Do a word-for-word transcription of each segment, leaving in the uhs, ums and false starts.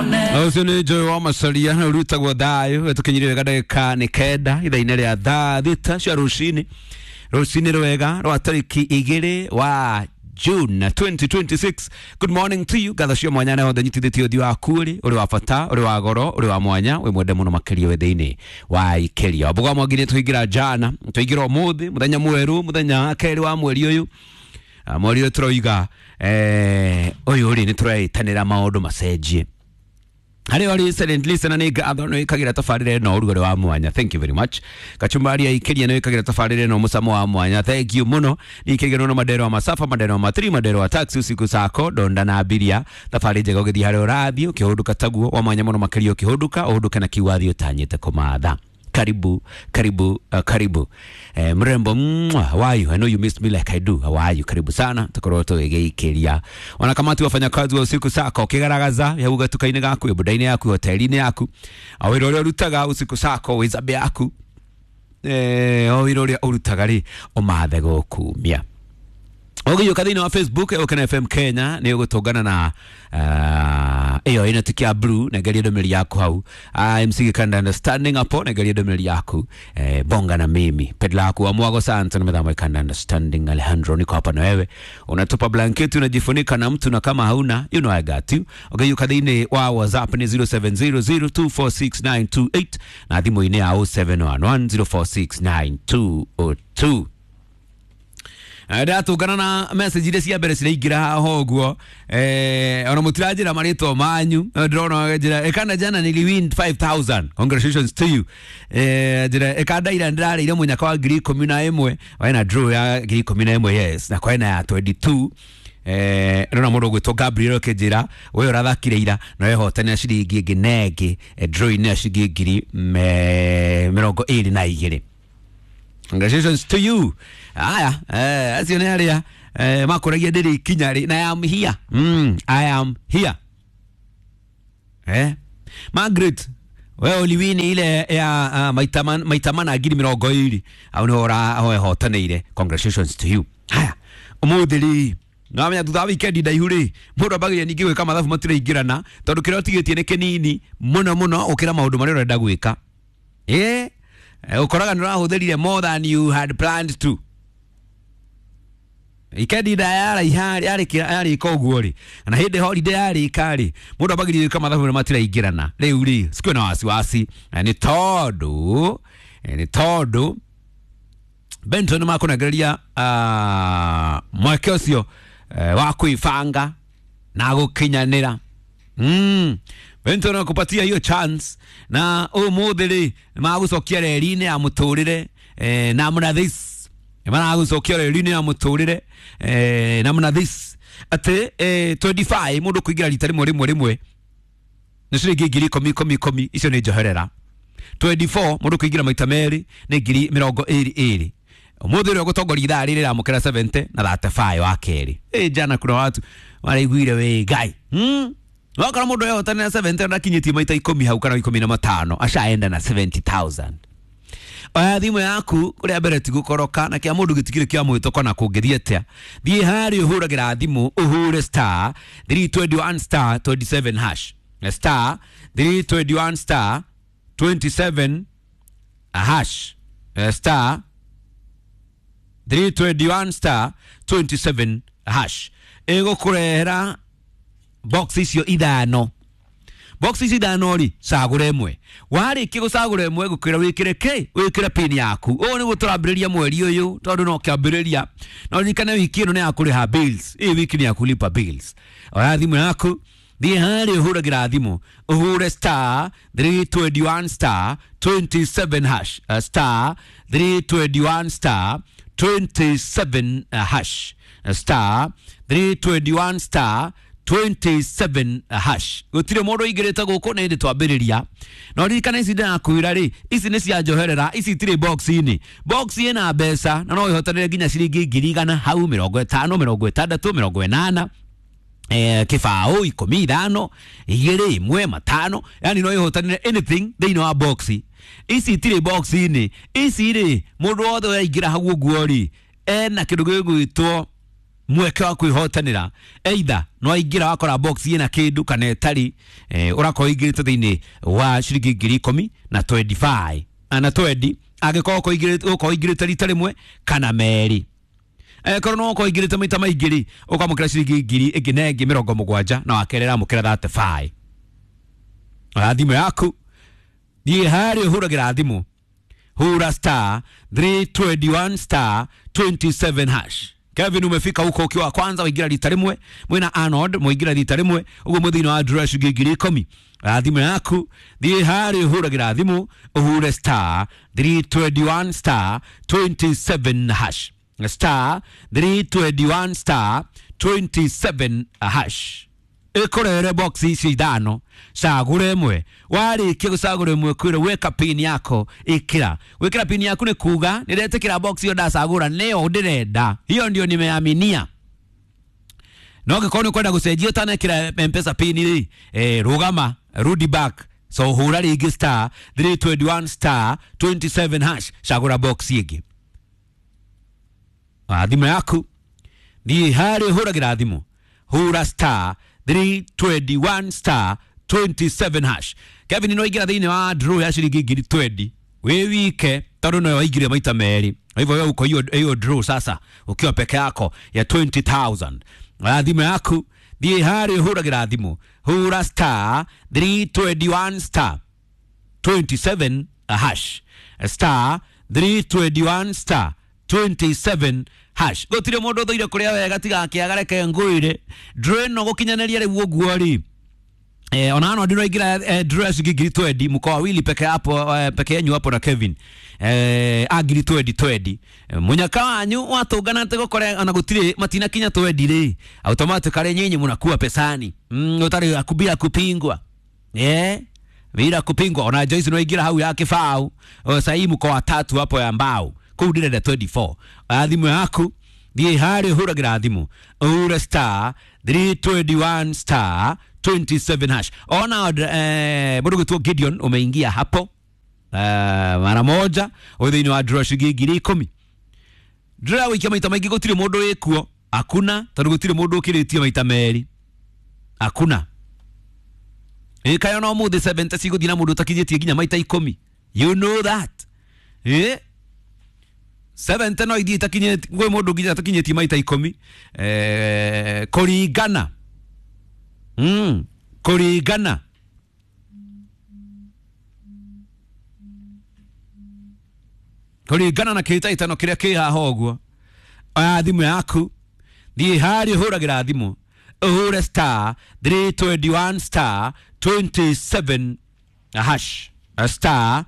Ũcio nĩ Joy wa Macaria ũrutagwo thayũ ĩtũkinyire wega ndagĩka nĩ kenda ithaa-inĩ rĩa thaa thita cia rũcinĩ rũcinĩ rwega rwa tarĩki igĩrĩ wa June twenty twenty-six. Good morning to you. Ngatho cia mwanya na hothe nyitithĩtie ũthiũ waku ũrĩ ũrĩ wa bata, ũrĩ wa goro, ũrĩ wa mwanya, wĩ mwende mũno makĩria wĩ thĩinĩ wa ikeria. Wambuga wa Mwangi nĩ tũingĩra jana, tũingĩra ũmũthĩ, mũthenya mwerũ, mũthenya wa kerĩ wa mweri ũyũ. Mweri ũyũ tũroiga eh, ũyũ rĩ nĩ tũreĩtanĩra maũndũ macenjie. Harĩ ũrĩ silent listener nĩ ngatho nĩ wĩkagĩra tabarĩra ĩno ũrugarĩ wa mwanya. Thank you very much. Kachumbari ya ikeria nĩ wĩkagĩra tabarĩra ĩno mũcamo wa mwanya. Thank you mũno. Nĩ ikĩrĩgĩrwo no madero wa masafa, madero wa matri, madero wa taxi usiku sako donda na abiria. Thabarĩ njega ũgĩthiĩ harĩa ũrathiĩ ũkĩhũndũka taguo wa mwanya mũno makĩria ũkĩhũndũka ũhũndũke na kiu wathiĩ ũtanyĩte kũmatha. Karibu, karibu, uh, karibu. Eh, mrembo mwa, how are you? I know you missed me like I do. How are you? Karibu sana. Tukorwo tũgĩgĩikĩria. Wanakamati wafanyakazi wa usiku sako ũkĩgaragaza hau gatuka-inĩ gaku, boda-inĩ yaku, hoteli-inĩ yaku. O wĩra ũrĩa ũrutaga usiku sako wĩ zambe yaku. Eh, o wĩra ũrĩa ũrutaga rĩ, ũmathe gũkumia. Ũgĩũka thĩinĩ wa Facebook Ũkena F M Kenya nĩ ũgũtũngana na ĩyo ĩna tick ya blue na ngerie ndũmĩrĩri yaku hau. M C Gikanda understanding hapo na ngerie ndũmĩrĩri yaku. Eh, bonga na mimi pedla yaku wa Mwago Santa na methamo Gikanda understanding Alejandro, niko hapa na wewe. Unatupa blanketi unajifunika na mtu na kama hauna you know I got you. Ũgĩũka thĩinĩ wa WhatsApp ni zero seven zero zero two four six nine two eight na thimũ-inĩ ya oh seven one one zero four six nine two oh two. Ndatũngana na message iria cia mbere ciraingĩra haha ũguo eh ona mũtiranjĩra marĩtwa manyu ndĩrona njĩra ĩkana jana niliwin five thousand, congratulations to you. Eh njĩra ĩkanda ira ndĩrarĩire mũnyaka wa ngiri ikũmi na ĩmwe wena draw ya ngiri ikũmi na ĩmwe yes na kwena ya twenty-two. Eh ndĩrona mũndũ ũgwĩtwo Gabriel ũkĩnjĩra we ũrathakire ira na wehotanĩra ciringi ĩngĩ na ĩngĩ draw-inĩ ya ciringi ngiri mĩrongo ĩrĩ na igĩrĩ. Congratulations to you. Aya, eh, acio nĩ arĩa eh, makũragia ndĩrĩ ikinya rĩ, na I am here. Mm, I am here. Eh, Margaret, we uliwini ile ya uh, maita maita mana ngiri mĩrongo ĩrĩ. Au nĩ ora wehotanĩire. Congratulations to you. Haya, ũmũthĩ rĩ, nĩwamenya thutha wa weekend ndaihu rĩ, mũndũ ambagĩrĩria ningĩ gwĩka mathabu matiraingĩrana tondũ kĩrĩa ũtigĩtie nĩ kĩnini mũno mũno ũkĩra maũndũ marĩa ũrenda gwĩka. Eh, ũkoraga nĩ ũrahũthĩrire more than you had planned to. Ikendi ndaya yarĩka yarĩka ũguo rĩ, na hĩndĩ holiday yarĩka rĩ, mũndũ ambagĩrĩria gwĩka mathabu matiraingĩrana. Rĩu rĩ, sikuwe na wasiwasi nĩ tondũ nĩ tondũ Benton makũnengereria uh, mweke ũcio uh, wa kwĩbanga na gũkinyanĩra. Mm. Benton akupatia hiyo chance na ũmũthĩ rĩ magũcokia reri-inĩ ya mũtũrĩre eh, namna this maragũcokia reri-inĩ ya mũtũrĩre eh, namna this atĩ eh, twenty-five mũndũ kũingĩra rita rĩmwe rĩmwe rĩmwe nĩ ciringi ngiri ikũmi ikũmi ikũmi, icio nĩ njoherera. twenty-four mũndũ kũingĩra maita merĩ nĩ ngiri mĩrongo ĩrĩ ĩrĩ. Ũmũthĩ ũrĩa ũgũtongoria ithaa rĩrĩ rĩramũkĩra seventy na thirty-five wa kerĩ. Ĩ jana kuna watu maraiguire wĩ Ngai. Mm. Wakora mũndũ ehotanĩra seventy na ndakinyĩtie maita ikũmi hau kana ikũmi na matano ashaenda na seventy thousand. Oya thimũ yaku kũrĩa mbere ti gũkoroka na kĩa mũndũ gĩtikĩrĩ kĩa mwĩtoko na kũngĩthiĩ atĩa. Thiĩ harĩa ũhũragĩra thimũ ũhũre star three twenty-one star twenty-seven hash. Star three twenty-one star twenty-seven hash. Star three twenty-one star twenty-seven hash. Ĩgũkũrehera box icio ithano. Box icio ithano rĩ, cagũra ĩmwe. Warĩkia gũcagũra ĩmwe gũkwĩra wĩkĩre kĩ? Wĩkĩre pin yaku. Ũũ nĩguo tũrambĩrĩria mweri ũyũ tondũ no kĩambĩrĩria. Na ũririkane wiki ĩno nĩ ya kũrĩha bills. Ĩ wiki nĩ ya kũlipa bills. Oya thimũ yaku, thiĩ harĩa ũhũragĩra thimũ, ũhũre star three twenty-one star twenty-seven hash. Uh, star three twenty-one star twenty-seven uh, hash. Uh, star three twenty-one star twenty-seven hash. Gũtirĩ mũndũ ũingĩrĩte gũkũ na hĩndĩ twambĩrĩria. Na ũririkane ici ndĩrakwĩra rĩ, ici nĩ cia njoherera, ici itirĩ box-inĩ. Box ĩna mbeca na no ĩhotanĩre nginya ciringi ngiri igana hau mĩrongo ĩtano, mĩrongo ĩtandatũ, mĩrongo ĩnana. Eh, kĩbaũ ikũmi ithano igĩrĩ ĩmwe matano, yani no ĩhotanĩre anything thĩinĩ wa box. Ici itirĩ box-inĩ. Ici rĩ mũndũ wothe ũraingĩra hau ũguo rĩ ena kĩndũ gĩgwĩtwo Mweke wa kwihotanira either no aingira wakora box ina kindu kana itari eh, urakorwo ingirite thiini wa ciringi ngiri ikumi na twenty-five na twenty angikorwo ukorwo ingirite rita rimwe kana meri akorwo no ukorwo ingirite maita maingi ri ukamukira ciringi ngiri ingi na ingi mirongo mugwanja na wakerera amukira thirty-five. Oya thimu yaku thiĩ harĩa ũhũragĩra thimũ hura star three twenty-one star twenty-seven hash. Kevin umefika huko ukiwa kwanza waingira rita rimwe mwina Arnold muingira rita rimwe uguo muthini wa draw ciringi ngiri ikumi. Thimu yaku thiĩ harĩa ũhũragĩra thimũ ũhure star three twenty-one star twenty-seven hash star three twenty-one star twenty-seven hash. Ikorere box ici ithano cagure imwe warikia gucagura imwe kwira weka pin yako ikira wikira pin yaku ni kuga niretikira box iyo ndacagura niyo ndirenda hiyo ndio nimeaminia. No ngikorwo ni kwenda gucenjia utanekira M-Pesa pin ri eh rugama rudi back so hura ringi star three twenty-one star twenty-seven hash cagura box ingi. Thimu yaku thiĩ harĩa ũhũragĩra thimũ hura star three twenty-one star twenty-seven hash. Kevin no ingira thiini wa draw ya ciringi ngiri twenty wi wike tondu no waingire maita meri hivyo wewe uko hiyo hiyo draw sasa ukiwa peke yako ya twenty thousand. Thimu yaku thiĩ harĩa ũhũragĩra thimũ hura star three twenty-one star twenty-seven hash star three twenty-one star twenty-seven hash. Gutire mundu uthuire kuria wega tiga akiagareke ngwire draw ino gukinyaniria riu uguo ri eh ona ano ndiro ingira eh, draw ya ciringi ngiri twenty mko wawili peke hapo eh, peke yenyu hapo na Kevin eh a ngiri twenty twenty eh, munyaka wanyu watungana ate gukore ona gutire matina kinya twenty ri automatically nyinyi munakuwa pesani mm, utari akubira kupingwa eh bila kupingwa. Ona Joyce no ingira hau ya kibao sasa mko watatu hapo ya mbao kuu ndirenda twenty-four. Thimu yaku thiĩ harĩa ũhũragĩra thimũ ũhure star three twenty-one star twenty-seven hash. Ona eh, mũndũ gwĩtwo Gideon umeingia hapo eh, mara moja wĩ thĩinĩ wa draw ciringi ngiri ikũmi. Draw wĩikia maita maingĩ gũtirĩ mũndũ wĩkuo hakuna tondũ gũtirĩ mũndũ ũkĩrĩtie maita merĩ hakuna. Ĩkayo no mũthĩ seventy cigũthiĩ na mũndũ ũtakinyĩtie nginya maita ikũmi you know that eh seventy no ithiĩ itakinyĩtie gwĩ mũndũ nginya atakinyĩtie maita ikũmi eh kũringana mm kũringana kũringana na kĩhĩtahĩtano kĩrĩa kĩ haha ũguo. Oya thimũ yaku thiĩ harĩa ũhũragĩra thimũ ũhũre star three twenty-one star twenty-seven hash star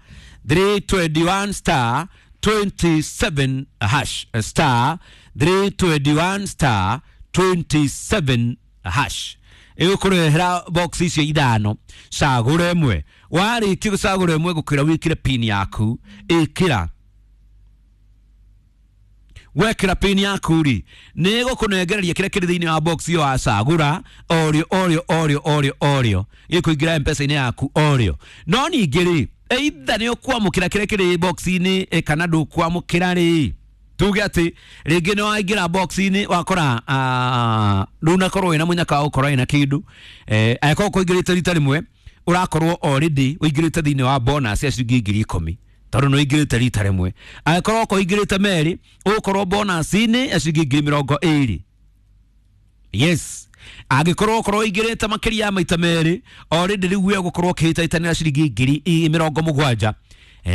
three twenty-one star twenty-seven hash star three twenty-one star twenty-seven hash. Ĩgũkũrehera box icio ithano cagũra ĩmwe warĩkia gũcagũra ĩmwe gũkwĩra wĩkĩre pin yaku ĩkĩra wekĩra pin yaku ri nĩ ĩgũkũnengereria kĩrĩa kĩrĩ thĩinĩ wa box ĩyo wacagũra orĩo orĩo orĩo orĩo orĩo gĩkũingĩra M-Pesa-inĩ yaku orĩo. No ningĩ rĩ either nĩ ũkwamũkĩra kĩrĩa kĩrĩ box-inĩ kana ndũkwamũkĩra rĩ tuge atĩ rĩngĩ nĩ waingĩra box-inĩ wakora ndũnakorwo wĩna mũnyaka wa gũkorwo wĩna kĩndũ eh angĩkorwo kũingĩrĩte rita rĩmwe ũrakorwo already ũingĩrĩte thĩinĩ wa bonus ya ciringi ngiri ikũmi tondũ nĩ ũingĩrĩte rita rĩmwe. Angĩkorwo kũingĩrĩte merĩ ũgũkorwo bonus-inĩ ya ciringi ngiri mĩrongo ĩrĩ. Yes angĩkorwo ũkorwo ũingĩrĩte makĩria ya maita merĩ already rĩu we ũgũkorwo ũkĩhĩtahĩtanĩra ciringi ngiri mĩrongo mũgwanja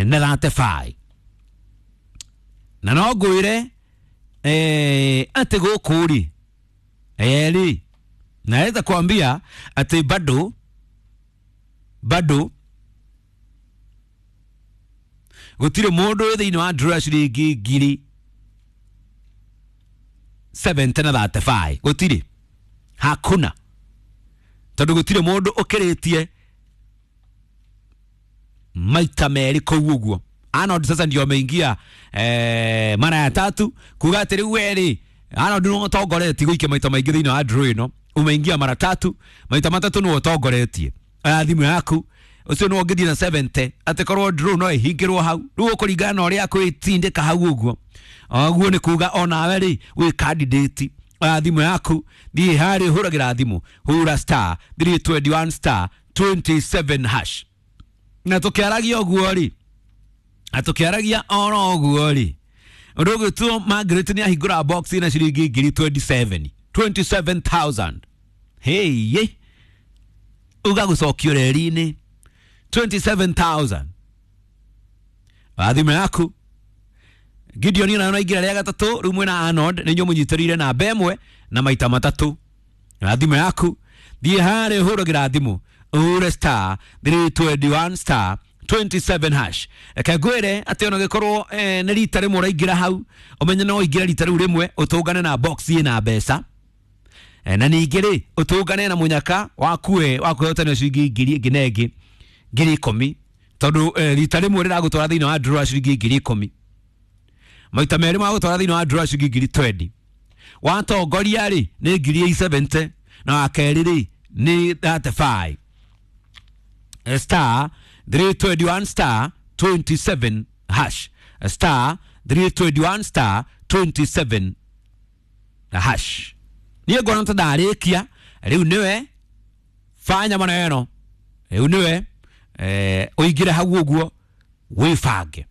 na thirty-five. Na no ngwĩre eh atĩ gũkũ rĩ eh rĩ naweza kuambia atĩ bado bado gũtirĩ mũndũ wĩ thĩinĩ wa draw ya ciringi ngiri seventy na thirty-five gũtirĩ hakuna tondũ gũtirĩ mũndũ ũkĩrĩtie maita merĩ kũu ũguo. Arnold sasa ndio ameingia eh, mara ya tatu kuga atĩ rĩu we rĩ Arnold nĩwe ũtongoretie gũikia maita maingĩ thĩinĩ wa draw ĩno umeingia mara tatu maita matatũ nĩwe ũtongoretie. Oya thimũ yaku ucio nĩwe ũngĩthiĩ na seventy atĩ korwo draw no ĩhingĩrwo hau rĩu ũkũringana na ũrĩa kwĩtindĩka hau ũguo ũguo nĩ kuga onawe rĩ wĩ candidate Oya thimũ yaku, thiĩ harĩa ũhũragĩra thimũ, hũra star three twenty one star twenty seven hash. Na tũkĩaragia ũguo rĩ, na tũkĩaragia oro ũguo rĩ, ũndũ ũgĩtwo Margaret nĩ ahingũra box na ciringi ngiri twenty seven, twenty seven thousand. Hey, uga gũcokio reri-inĩ twenty seven thousand. Oya thimũ yaku. Gideon nayo naingĩra rĩa gatatũ, rĩu mwĩna Arnold nĩ inyuĩ mũnyitĩrĩire namba ĩmwe na maita matatũ. Oya thimũ yaku, thiĩ harĩa ũhũragĩra thimũ, ũhũre star three twenty one star twenty seven hash. Reke ngwĩre atĩ ona ũngĩkorwo eh, nĩ rita rĩmwe ũraingĩra hau, ũmenye no ũingĩre rita rĩu rĩmwe ũtũngane na box ĩna mbeca. Eh, na ningĩ rĩ, ũtũngane na mũnyaka wakue wa kwĩhotanĩra ciringi ngiri ĩngĩ na ĩngĩ ngiri ikũmi, tondũ eh, rita rĩmwe rĩragũtwara thĩinĩ wa draw ya ciringi ngiri ikũmi, maita merĩ magũtwara thĩinĩ wa draw ya ciringi ngiri twenty. Watongoria rĩ nĩ ngiri seventy, na wa kerĩ rĩ nĩ thirty five. Star three twenty one star twenty seven hash, star three twenty one star twenty seven hash. Niĩ ngona ta ndarĩkia rĩu, nĩwe fanya maneno rĩu, nĩwe eh, ũingĩre hau ũguo wĩbange.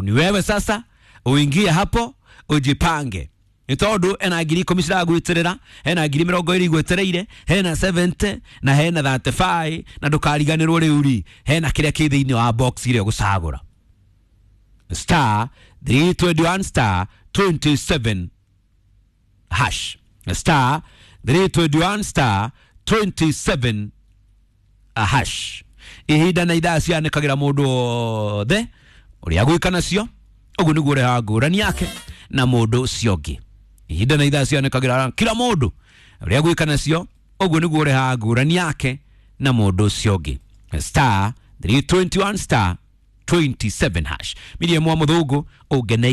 Ni wewe sasa uingie hapo ujipange, nĩ tondũ ena ngiri ikũmi ciragwĩtĩrĩra, hena ngiri mĩrongo ĩrĩ igwetereire, hena seventy na hena thirty five, na ndũkariganĩrwo rĩu rĩ hena kĩrĩa kĩ thĩinĩ wa box ĩrĩa ũgũcagũra. Star three twenty one star twenty seven hash, star three twenty one star twenty seven hash. Ihinda na ithaa cianĩkagĩra mũndũ wothe ũrĩa gwĩka nacio, ũguo nĩguo ũrehaga ngũrani yake na mũndũ ũcio ũngĩ. Ihinda na ithaa cianĩkagĩra kila mũndũ ũrĩa gwĩka nacio, ũguo nĩguo ũrehaga ngũrani yake na mũndũ ũcio ũngĩ. Star three twenty one star twenty seven hash. Miriam wa Mũthũngũ ũngeneire.